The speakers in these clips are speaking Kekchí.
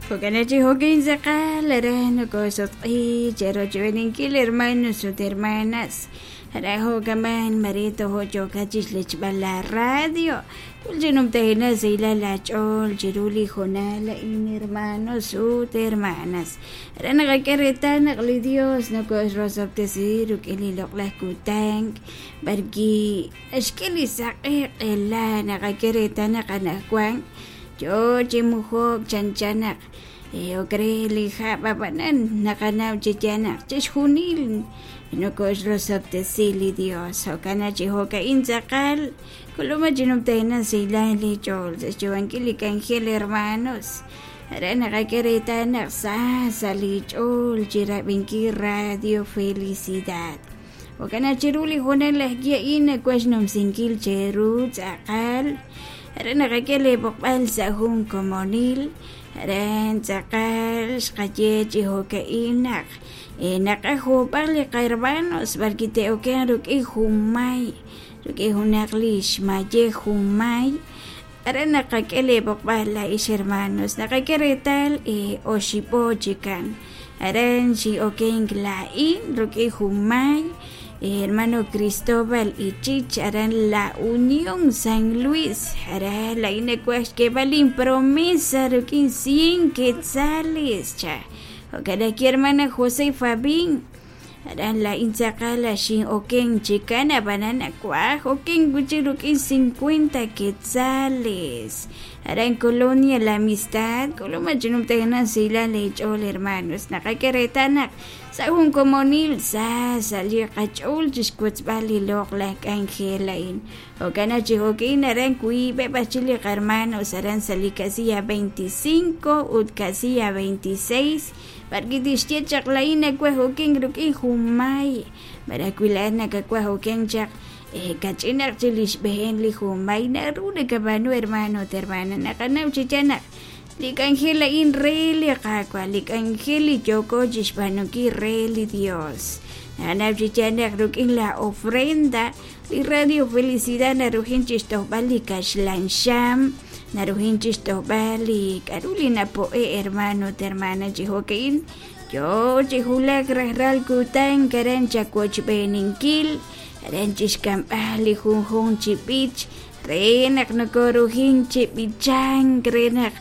Jo'kan chi jo'kin tz'aqal aran nokosutq'i cherochb'eeninkil hermanos ut hermanas. Aran jo'kaman mare tojo' yookat chixlechb'al la radio. K'ul chi numtajenaq sahilal laach'ool chiru li hoonal a'in hermanos ut hermanas. Aran naqak'e reetal naq li Dios nokoxrosob'tesi rik'in li loq'laj kutan b'arwi' naxk'e li saq'e q'ela naqak'e reetal naq anaqwan yoo chi mujok chanchan naq ok re li hab' ab'anan naqanaw chi yaal naq chixjunil nokoxrosob'tesi li Dios jo'kan naq chi jo'ka'in tz'aqal k'ulub'aj chi numtajenaq sahilal li ch'ool sa' xyu'ankil li k'anjel hermanos aran naqak'e reetal naq sa sa' li ch'ool chi rab'inkil Radio Felicidad jo'kan naq chiru li hoonal ajwi' a'in nawaj xnumsinkil cheru tz'aqal aran naqak'e lee b'oqb'al sa' jun komonil aran tz'aqal xqaye chi jo'ka'in naq naqaj juub'aj li qahermanos b'arwi' te'okenq rik'in junmay rik'in junaq li xmayej junmay aran naqak'e lee b'oqb'al laa'ix hermanos naqak'e reetal oxib'o chikan aran xin'okenk laa'in rik'in junmay hermano Cristóbal Ichich aran La Unión San Luis aran laa'in nawaj xk'eeb'al inpromesa rik'in 100 quetzales cha jo'kan ajwi' hermana José Fabín aran laa'in tz'aqal xin'oken chikan ab'anan nawaj oken wi'chik rik'in 50 quetzales aran Colonia La Amistad k'ulub'aj chi numtajenaq sahilal eech'ool hermanos naqak'e reetal naq sa' jun komonil sa sa' li qach'ool chixwotzb'al li loq'laj k'anjel a'in jo'kan naq chi jo'kin aran wiib'eb' ajchik li qahermanos aran sa' li casilla 25 ut casilla 26 b'arwi' tixye chaq laa'in nawaj okenk rik'in junmay malaj wi laa'at nakawaj okenk chaq kach'inaq chik li xb'een li junmay naru nakab'aanu hermano ut hermana naqanaw chi yaal naq li k'anjel a'in re li Qaawa' li k'anjel li yooko chixb'aanunkil re li Dios naqanaw chi yaal naq rik'in la ofrenda li Radio Felicidad narujin chixtojb'al li kaxlan xam narujin chixtojb'al li k'a'ru li napo'e hermano ut hermana chi jo'ka'in yoo chi wulak rajlal kutan aran chawochb'eeninkil aran chixk'amb'al li junjunq chi b'ich re naq nokorujin chi b'ichank re naq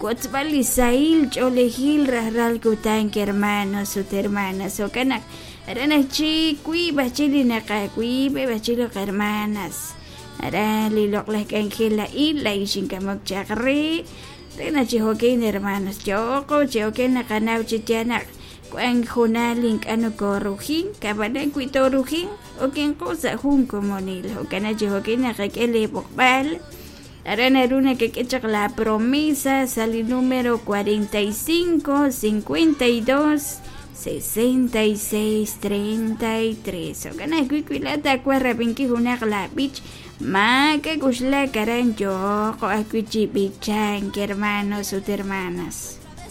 wotzb'al li sahil ch'oolejil rajlal kutan hermanos ut hermanas jo'kan naq aran ajchik wiib' ajchik li naqawiib'eb' ajchik li qahermanas aran li loq'laj k'anjel a'in laa'in xink'amok chaq re re naq chi jo'kin hermanos yo'qo chi jo'kin naqanaw chi yaal naq wank junal ink'a' nokorujin ab'anan wi toorujin okenqo sa' jun komonil jo'kan naq chi jo'kin naqak'e lee b'oqb'al aran naru nakak'e chaq la promesa sa' li número 45 52 66 33 jo'kan ajwi' wi laa'at taawaj rab'inkil junaq laab'ich maak'a' k'uxlak aran yooqo ajwi' chi b'ichank hermanos ut hermanas.